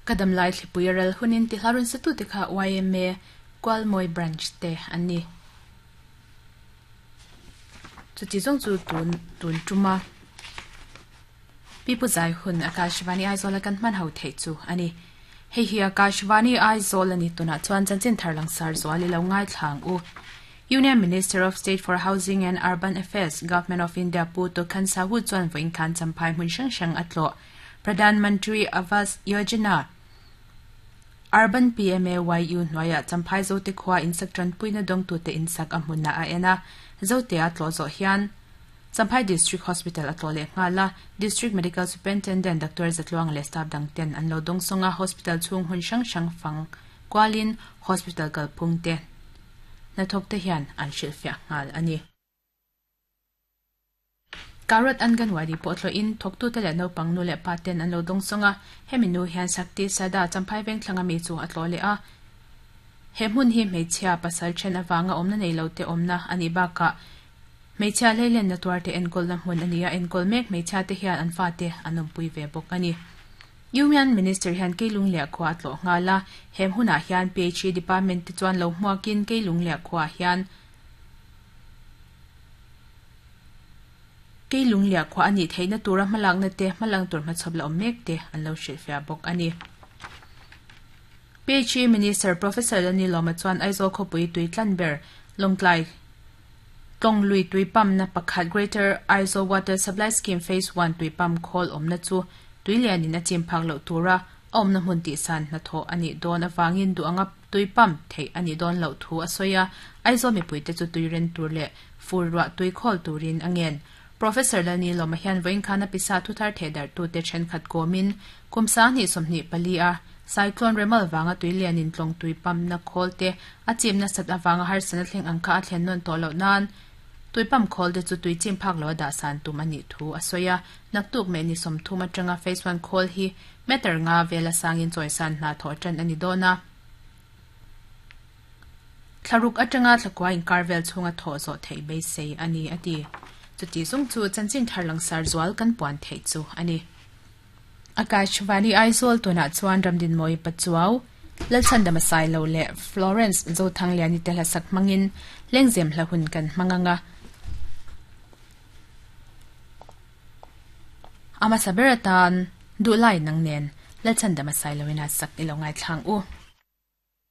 Ka damlai thlipui a ral hunin ti hla rawn satute kha yma Kualmawi Branch te an ni. Chuti zawng chu tun tun tuma Pipu zai hun Akashvani Aizawl a kan hman ho theih chu a ni. Hei hi Akashvani Aizawl a ni tunah chuan chanchin thar langsar zual i lo ngaithla ang u. Union Minister of State for Housing and Urban Affairs, Government of India Pu Tokhan Sahu chuan vawiin khan Champhai hmun hrang hrang a tlawh. Pradhan Mantri Awas Yojana, Urban PMAYU hnuaiah Champhai Zote khua insak tanpuina dawngtute insak a hmunah a en a, Zote a tlawh zawh hian Champhai District Hospital a tlawh leh nghal a, District Medical Superintendent Doctor Zatluanga leh staff dang ten an lo dawngsawng a, hospital chhung hun hrang hrang fang kualin hospital kalphung te hnathawk te hian an hrilhfiah nghal a ni. Karot Anganwadi pawh tlawhin thawktute leh naupang nu leh pa ten an lo dawngsawng a, hemi nu hian Shakti Sada Champhai Vengthlanga mi chu a tlawh leh a. He hmun hi hmeichhia pasal then avanga awmna nei lo te awmna a nih bakah hmeichhia hleilenna tuarte enkawlna hmun a ni a, enkawl mek hmeichhia te hian an fate an awmpui ve bawk a ni. Union Minister hian Keilungliah khua a tlawh nghal a, he hmunah hian PHE Department te chuan lo hmuakin Keilungliah khuaah hian Keilungliah khua a nih theihna tura hmalakna te, hmalang tur hmachhawp la awm mek te an lo hrilhfiah bawk a ni. PHE Minister Professor Lalnilawma chuan Aizawl khawpui tui tlan ber Lawngtlai Tlawng lui tui pump na pakhat Greater Aizawl Water Supply Scheme Phase One tui pump khawl awmna chu tui lianin a chim phak loh tura a awmna hmun tihsan hnathawh a nih dawn avangin duh anga tui pump theih a nih dawn loh thu a sawi a, Aizawl mipuite chu tui ren tur leh fur ruah tui khawl turin a ngen. Professor Lalnilawma hian vawiin khan a pisa thuthar thehdarhtute thenkhat kawmin kum 2024 a Cyclone Remal vanga tui lianin tlawng tui pump na khawl te a chim nasat avanga harsatna thleng ang kha a thlen nawn tawh loh nan tui pump khawl te chu tui chim phak lo a dah san tum a nih thu a sawi a. Naktuk meh ni 30 atanga Phase One khawl hi meter nga vela sangin chawisan hna thawh tan a ni dawn a. Thlaruk atanga thlakua inkar vel chhunga thawh zawh theih beisei a ni a ti. Chuti zung chu chanchin thar langsar zual kan puan theih chu a ni. Akashvani Aizawl tunah chuan Ramdinmawii Pachuau, Lalchhandama Sailo leh Florence Zothangliani te hlasak hmangin lengzem hla hun kan hmang ang a. A hmasa ber atan duhlai nang nen Lalchhandama Sailoin a sak i lo ngaithlang u.